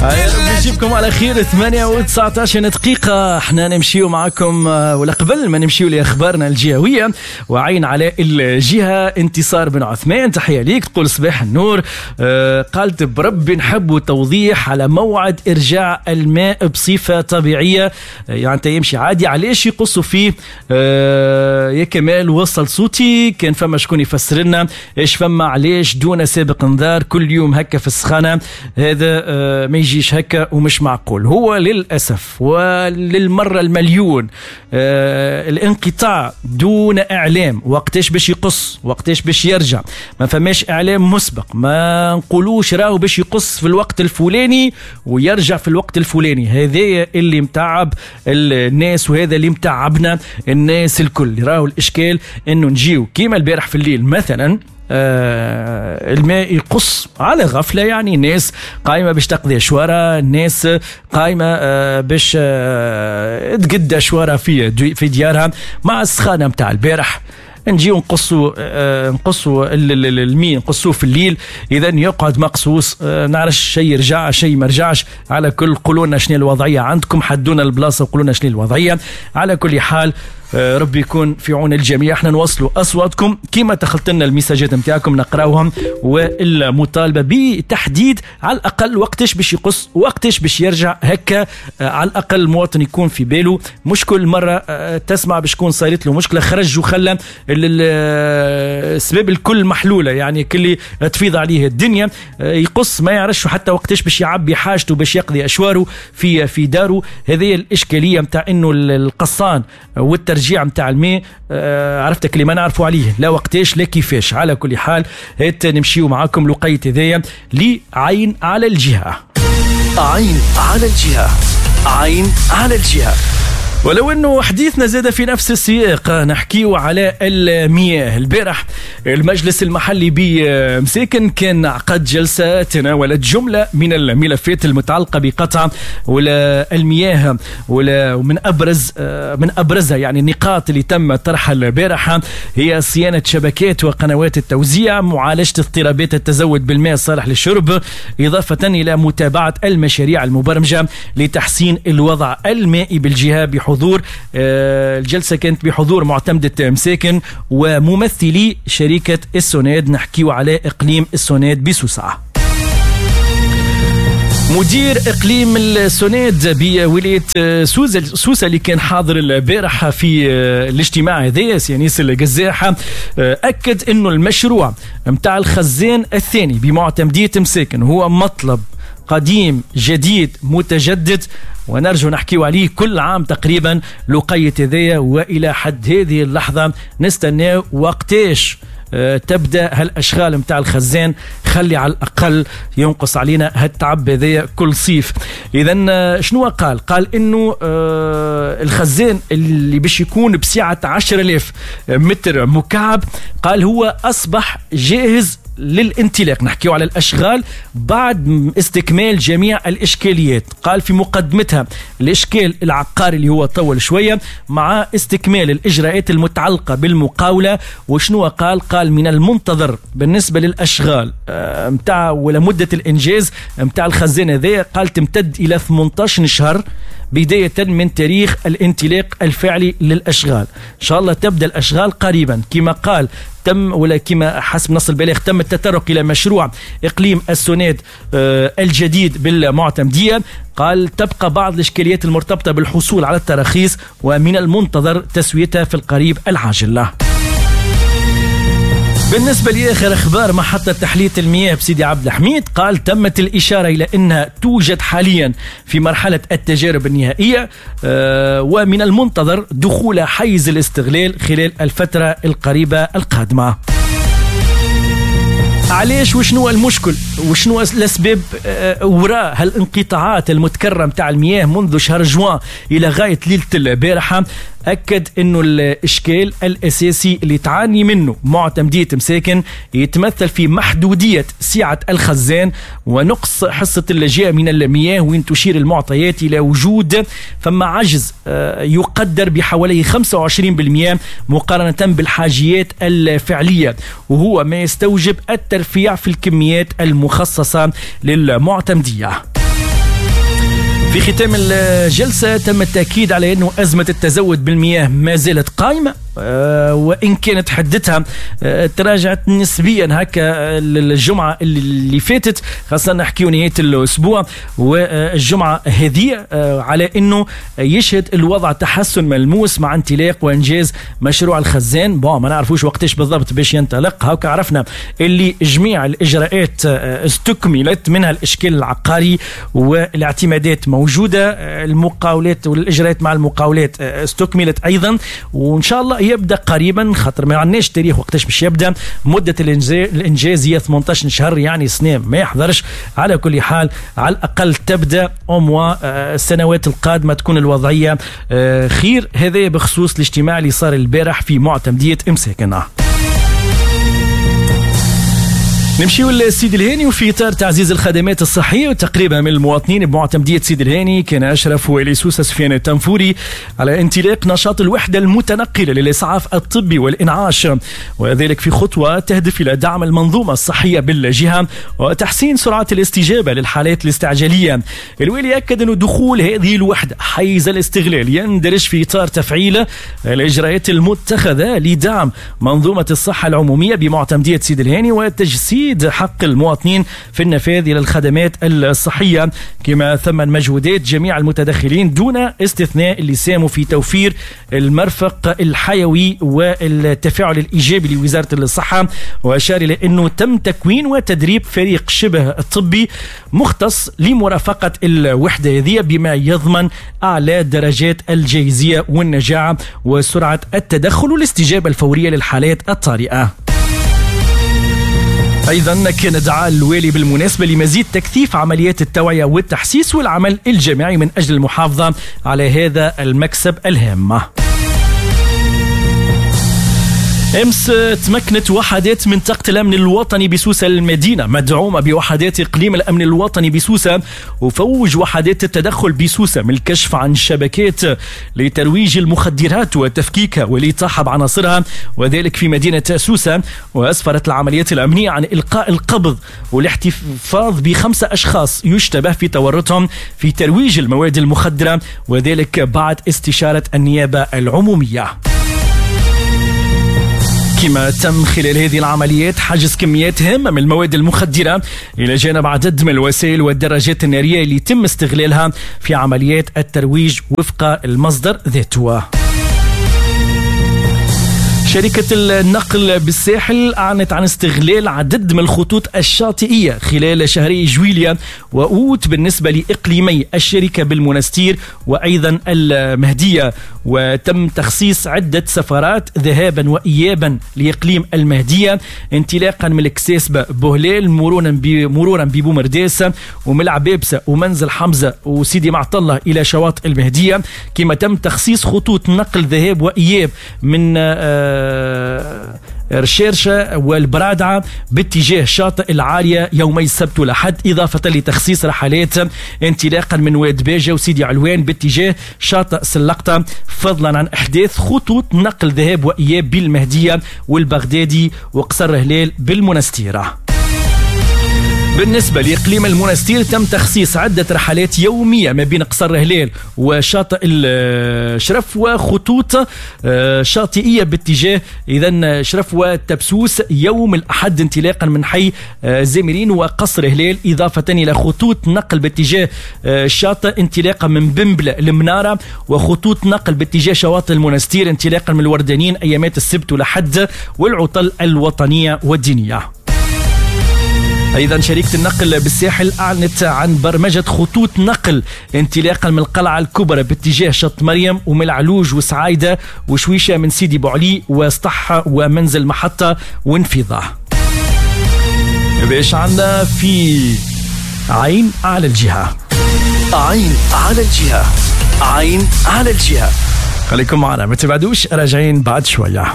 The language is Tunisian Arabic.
يجيبكم على خير. 8:19 دقيقة، احنا نمشيو معكم، ولا قبل ما نمشيو لأخبارنا الجهوية وعين على الجهة، انتصار بن عثمان تحية ليك، تقول صباح النور. قالت بربي نحب توضيح على موعد إرجاع الماء بصفة طبيعية، يعني انت يمشي عادي علاش يقصوا فيه؟ يا كمال وصل صوتي، كان فما شكون يفسر لنا ايش فما، علاش دون سابق انذار كل يوم هكا في السخانة؟ هذا ما يجيش هكا ومش معقول. هو للأسف وللمرة المليون الانقطاع دون إعلام، وقتاش باش يقص وقتاش باش يرجع، ما فماش إعلام مسبق، ما نقولوش راهو باش يقص في الوقت الفلاني ويرجع في الوقت الفلاني. هذا اللي متعب الناس وهذا اللي متعبنا الناس الكل. راهو الإشكال إنه نجيو كيما البارح في الليل مثلا، الماء يقص على غفلة، يعني الناس قايمة باش تقضي شوارة، الناس قايمة باش تقد شوارة في ديارها مع السخانة متاع البارح، نجيو نقصوا الماء، نقصوه في الليل، اذا يقعد مقصوص، نعرفش شيء يرجع شيء ما رجعش. على كل قولوا لنا شنو الوضعية عندكم، حدونا البلاصة وقولوا لنا شنو الوضعية. على كل حال ربي يكون في عون الجميع. احنا نوصلوا اصواتكم كما دخلت لنا المساجات نتاعكم نقراوهم، والمطالبة بتحديد على الاقل وقتاش باش يقص وقتاش باش يرجع، هكا على الاقل المواطن يكون في باله. مش كل مرة تسمع باش تكون صارت له مشكلة خرج وخلى السباب الكل محلولة، يعني كل تفيض عليه الدنيا، يقص ما يعرفش حتى وقتاش باش يعبي حاجته باش يقضي اشواره في داره. هذه الاشكالية نتاع انه القصان والترجيع متاع الماء، عرفتك اللي ما نعرفوا عليه لا وقتاش لا كيفاش. على كل حال هات نمشيو معاكم لقيت هذايا لعين على الجهة. عين على الجهة، عين على الجهة. ولو انه حديثنا زاد في نفس السياق، نحكيو على المياه. البارح المجلس المحلي بمساكن كان عقد جلسة تناولت جملة من الملفات المتعلقة بقطع ولا المياه، ولا من ابرز من ابرزها يعني النقاط اللي تم طرحها البارحة هي صيانة شبكات وقنوات التوزيع، معالجة اضطرابات التزود بالماء الصالح للشرب، إضافة إلى متابعة المشاريع المبرمجة لتحسين الوضع المائي بالجهة. بحضور الجلسة كانت بحضور معتمدة مساكن وممثلي شركة السوناد. نحكيو على إقليم السوناد بسوسة. مدير إقليم السوناد بولاية سوسة اللي كان حاضر البارحة في الاجتماع هذا، سي أنيس القزاحة، أكد أنه المشروع متاع الخزان الثاني بمعتمدية مساكن هو مطلب قديم جديد متجدد، ونرجو نحكيو عليه كل عام تقريبا لقيت هذايا، والى حد هذه اللحظة نستناو وقتاش تبدا هالاشغال متاع الخزان، خلي على الاقل ينقص علينا هالتعب هذايا كل صيف. اذا شنو قال؟ قال انه الخزان اللي باش يكون بسعة 10,000 متر مكعب، قال هو اصبح جاهز للانطلاق. نحكيو على الأشغال بعد استكمال جميع الإشكاليات. قال في مقدمتها الإشكال العقاري اللي هو طول شوية مع استكمال الإجراءات المتعلقة بالمقاولة. وشنو قال؟ قال من المنتظر بالنسبة للأشغال متاع ولا مدة الإنجاز متاع الخزان هذا، قال تمتد إلى 18 شهر بداية من تاريخ الانطلاق الفعلي للأشغال. إن شاء الله تبدأ الأشغال قريبا. كما قال تم ولا كما حسب نص البلاغ تم التطرق إلى مشروع إقليم السوناد الجديد بالمعتمدية. قال تبقى بعض الإشكاليات المرتبطة بالحصول على التراخيص ومن المنتظر تسويتها في القريب العاجل. بالنسبة لآخر أخبار محطة تحلية المياه بسيدي عبد الحميد، قال تمت الإشارة إلى أنها توجد حاليا في مرحلة التجارب النهائية، ومن المنتظر دخول حيز الاستغلال خلال الفترة القريبة القادمة. علاش وشنو المشكل وشنو الأسباب وراء هالانقطاعات المتكررة متاع المياه منذ شهر جوان إلى غاية ليلة البارحة؟ أكد أنه الإشكال الأساسي اللي تعاني منه معتمدية مساكن يتمثل في محدودية سعة الخزان ونقص حصة اللجاء من المياه، وين تشير المعطيات إلى وجود فما عجز يقدر بحوالي 25% مقارنة بالحاجيات الفعلية، وهو ما يستوجب الترفيع في الكميات المخصصة للمعتمدية. في ختام الجلسة تم التأكيد على أنه أزمة التزود بالمياه ما زالت قائمة، وإن كانت حدتها تراجعت نسبيا هكا الجمعة اللي فاتت، خاصة نحكيو نهاية الأسبوع والجمعة هذه، على أنه يشهد الوضع تحسن ملموس مع انطلاق وإنجاز مشروع الخزان. bon ما نعرفوش وقتاش بالضبط باش ينطلق، هكا عرفنا اللي جميع الإجراءات استكملت، منها الإشكال العقاري والاعتمادات موجودة، المقاولات والإجراءات مع المقاولات استكملت أيضا، وإن شاء الله يبدا قريبا، خاطر ما عندناش تاريخ وقتاش باش يبدا. مده الانجاز هي 18 شهر، يعني سنة ما يحضرش. على كل حال على الاقل تبدا au moins السنوات القادمة تكون الوضعية خير. هذا بخصوص الاجتماع اللي صار البارح في معتمديه مساكن. نمشيو لسيد الهاني، وفي اطار تعزيز الخدمات الصحية وتقريبها من المواطنين بمعتمديه سيد الهاني، كان اشرف والي سوسة سفيان التنفوري على انطلاق نشاط الوحدة المتنقله للاسعاف الطبي والانعاش، وذلك في خطوة تهدف الى دعم المنظومة الصحية بالجهة وتحسين سرعة الاستجابة للحالات الاستعجاليه. الوالي اكد ان دخول هذه الوحدة حيز الاستغلال يندرج في اطار تفعيل الاجراءات المتخذة لدعم منظومة الصحة العمومية بمعتمديه سيد الهاني وتجسيد حق المواطنين في النفاذ إلى الخدمات الصحية، كما ثمن مجهودات جميع المتدخلين دون استثناء اللي ساهموا في توفير المرفق الحيوي والتفاعل الإيجابي لوزارة الصحة. وأشار إلى أنه تم تكوين وتدريب فريق شبه طبي مختص لمرافقة الوحدة هذه بما يضمن أعلى درجات الجاهزية والنجاعة وسرعة التدخل والاستجابة الفورية للحالات الطارئة. أيضا كان دعا الوالي بالمناسبة لمزيد تكثيف عمليات التوعية والتحسيس والعمل الجماعي من أجل المحافظة على هذا المكسب الهام. امس تمكنت وحدات منطقة الأمن الوطني بسوسة المدينة مدعومة بوحدات إقليم الأمن الوطني بسوسة وفوج وحدات التدخل بسوسة من الكشف عن شبكات لترويج المخدرات وتفكيكها والإطاحة بعناصرها، وذلك في مدينة سوسة. وأسفرت العمليات الأمنية عن إلقاء القبض والاحتفاظ ب5 أشخاص يشتبه في تورطهم في ترويج المواد المخدرة، وذلك بعد استشارة النيابة العمومية. كما تم خلال هذه العمليات حجز كميات هامة من المواد المخدرة إلى جانب عدد من الوسائل والدراجات النارية اللي تم استغلالها في عمليات الترويج وفق المصدر ذاته. شركة النقل بالساحل أعلنت عن استغلال عدد من الخطوط الشاطئية خلال شهري جويليا وأوت بالنسبة لإقليمي الشركة بالمنستير وأيضا المهدية، وتم تخصيص عدة سفرات ذهابا وإيابا لإقليم المهدية انطلاقا من الكساسبة بوهلال مرورا ببومرداس وملعبابسة ومنزل حمزة وسيدي معطلة إلى شواطئ المهدية. كما تم تخصيص خطوط نقل ذهاب وإياب من رشيرشة والبرادعة باتجاه شاطئ العالية يومي السبت والأحد، إضافة لتخصيص رحلات انطلاقا من واد باجة وسيدي علوان باتجاه شاطئ سلقطة، فضلا عن إحداث خطوط نقل ذهاب وإياب بالمهدية والبغدادي وقصر هلال بالمنستيرة. بالنسبة لإقليم المنستير تم تخصيص عدة رحلات يومية ما بين قصر هلال وشاطئ الشرف وخطوط شاطئية باتجاه إذن شرف وتبسوس يوم الأحد انطلاقا من حي زميرين وقصر هلال، إضافة إلى خطوط نقل باتجاه الشاطئ انطلاقا من بنبلة المنارة وخطوط نقل باتجاه شواطئ المنستير انطلاقا من الوردانين أيامات السبت والأحد والعطل الوطنية والدينية. أيضا شركة النقل بالساحل أعلنت عن برمجة خطوط نقل انطلاقا من القلعة الكبرى باتجاه شط مريم وملعلوج وسعايدة وشويشة من سيدي بوعلي وسطحة ومنزل محطة وانفضة. باش عندنا في عين على الجهة، عين على الجهة، عين على الجهة. خليكم معنا ما تبعدوش، راجعين بعد شوية.